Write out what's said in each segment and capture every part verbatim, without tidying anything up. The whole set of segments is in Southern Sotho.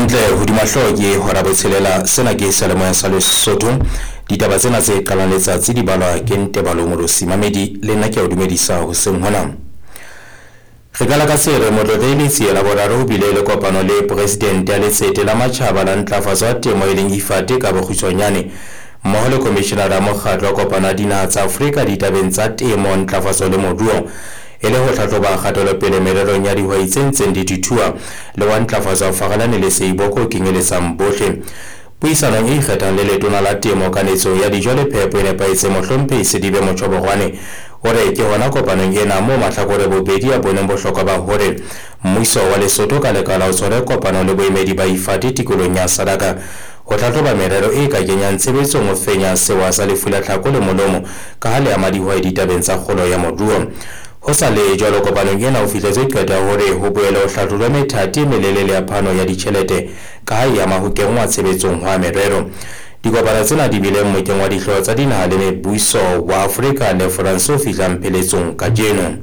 Hantle hodima hlooho ke hora botshelela. Sena ke seyalemoya sa Lesotho. Ditaba tsena tse qalang letsatsi di balwa ke Ntebalo Molosi Mamedi, le nna ke a o dumedisa hoseng hona. Re qala ka se re Motlotlehi Letsie la boraro ho bile le kopano le presidente ya Letsete la Matjhaba la Ntlafatso ya Temo e leng IFAD ka bokgutshwanyane, mmoho le komishenara ya Mokgatlo wa Kopano ya Dinaha tsa Afrika ditabeng tsa temo, ntlafatso le moruo, e le ho hlahloba kgatelopele mererong ya dihwai tse ntseng di thuthuwa le wa ntlafatso ya Farelane le Seiboko o kenyeletsang bohle. Puisanong e ikgethang le letona la temo, kanetso ya dijo le phepo e nepahetseng Mohlomphehi Sedibe Motjhoborwane o re ke hona kopanong ena moo mahlakore bobedi a boneng bohlokwa ba hore mmuso wa Lesotho ka lekala o tshware kopano le boemedi ba IFAD tikolong ya Sadaka ho hlahloba merero e ka kenyang tshebetsong ho fenya sewa sa lefu la tlhako le molomo ka ha le ama dihwai ditabeng tsa kgolo ya moruo. Ho sa le jwalo, kopanong ena ho fihletswe qeto ya hore ho boele ho hlahlojwe methati e melelele ya phano ya ditjhelete ka ha e ama ho kenngwa tshebetsong hwa merero. Dikopano tsena di bile mmokeng wa dihlooho tsa dinaha le mebuso wa Afrika le France o fihlang pheletsong kajeno.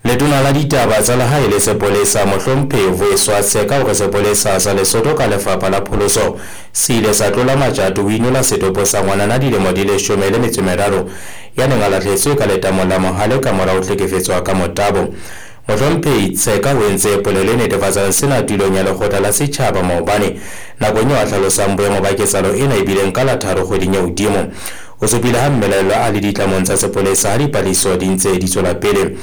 Letona la ditaba tsa lehae le sepolesa Mohlomphehi Vuyiswa Tseka hore sepolesa sa Lesotho ka lefapha la pholoso se ile sa tlola matjato ho inola setopo sa ngwanana dilemo di leshome le metso e meraro ya neng a lahletswe ka letamong la Mohale ka mora ho hlekefetswa ka motabo. Mohlomphehi Tseka o entse polelo e netefatsang sena tulong ya lekgotla la setjhaba maobane nakong eo a hlalosang boemo ba ketsahalo ena e bileng ka la tharo kgweding ya hodimo. O supile ha mmelaellwa a le ditlamong tsa sepolesa ha dipatlisiso di ntse di tswela pele.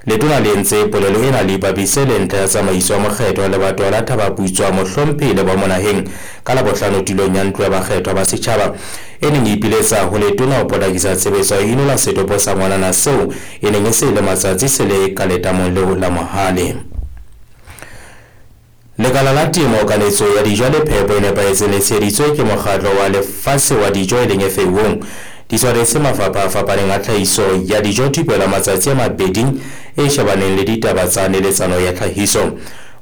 Letona le entse polelo ena le ipapise le ntlha ya tsamaiso ya mokgetho wa lebatowa la Thabaputswa Mohlomphehi le ba Monaheng ka Labohlano tulong ya ntlo ya bakgethwa ba setjhaba e neng e ipiletsa ho letona ho potlakisa tshebetso ya ho inola setopo sa ngwanana seo e neng e se le matsatsi se le ka letamong leo la Mohale. Lekala la temo, kanetso ya dijo le phepo e nepahetseng le tsheheditswe ke mokgatlo wa lefatshe wa dijo e leng F A O. Di tshwaretse mafapha a fapaneng a tlhahiso ya dijo thupelo ya matsatsi a mabedi e shebaneng le ditaba tsa neletsano ya tlhahiso.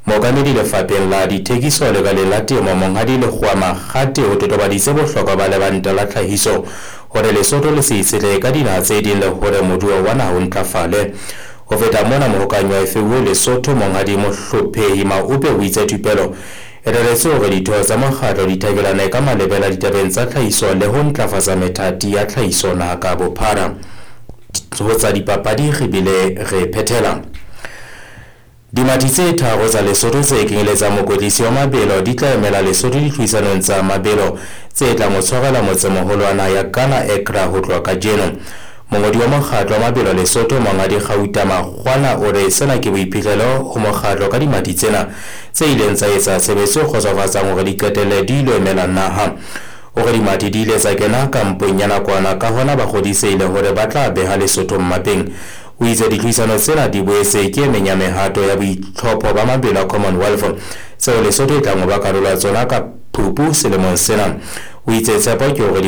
Mookamedi lefapheng la dithekiso lekaleng la temo Monghadi Lekgowa Makgate o totobaditse bohlokwa ba lebanta la tlhahiso hore Lesotho le se itshetlehe ka dinaha tse ding le hore moruo wa naha o ntlafale. Ho feta mona, mohokanyi wa F A O Lesotho Monghadi Mohlophehi Maupe o itse thupelo e reretswe hore ditho tsa mokgatlo di thakelane ka malebela ditabeng tsa tlhahiso le ho ntlafatsa methati ya tlhahiso naha ka bophara. Ho tsa dipapadi re bile re phethela. Dimathi tse tharo tsa Lesotho tse kenyeletsang mokwetlisi wa mabelo di tla emela Lesotho ditlhodisanong tsa mabelo tse tlang ho tshwarelwa motsemoholo wa naha ya Ghana Accra ho tloha kajeno. Mongodi wa mokgatlo wa mabelo Lesotho Monghadi Gauta Makgwana o re sena ke boiphihlelo ho mokgatlo ka dimathi tsena tse ileng tsa etsa tshebetso e kgotsofatsang hore di qetelle di ilo emela naha. O re dimathi di ile tsa kena kampong ya nakwana, ka hona ba kgodisehile hore ba tla beha Lesotho mmapeng. O itse ditlhodisano tsena di boetse ke e meng ya mehato ya boitlhopho ba mabelo a Commonwealth tseo Lesotho e tlang ho ba karolo ya tsona ka Phupu selemong sena. O itse tshepo ke hore